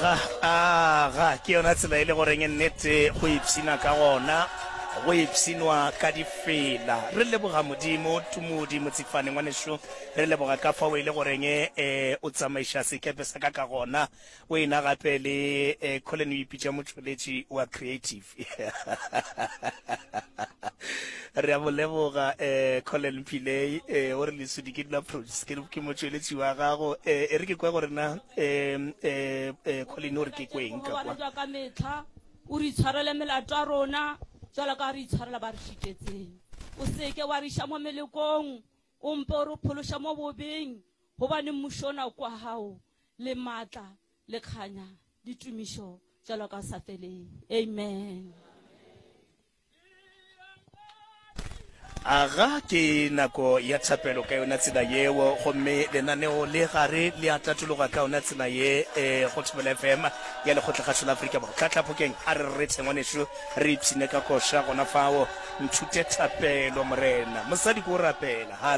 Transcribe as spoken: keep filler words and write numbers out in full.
Aga, aga, ke yona tsela e le goreng nnete go ipshina ka gona, go ipshinwa ka difela. Re leboga Modimo, Tumudi Motsifane ngwanešu, re leboga ka fao e le goreng eh, o tsamaiša sekepe sa ka ka gona. O ena gape le eh, Colin o ipitša motšweletši wa creative. Re a mo leboga eh, Colin Pillay, eh, o re Lesodi ke dula produce, ke, ke motšweletši wa gago. Eh, e re ke kwe gore na eh, eh, eh, Colin o re ke kweng ka kwa. Jwa ka metlha o re itshwarele melato ya rona jwalo ka re itshwarela ba re šitetseng. O seke wa re iša mo melekong, o mpe o re phološa mo bobeng, gobane mmušo ona kwa gago le maatla le kganya le tumišo jwalo ka sa feleng. Amen. Aga ke nako ya thapelo ka yona tsela yeo, gomme lenaneo le gare le a tatologa ka yona tsela ye eh, go Thobela F M ya Lekgotlakgašo la Afrika Borwa. Tlatlaphokeng a re rethe ngwanešu, re ipshine ka koša gona fao. Nthute thapelo Morena. Mosadi ko rapela.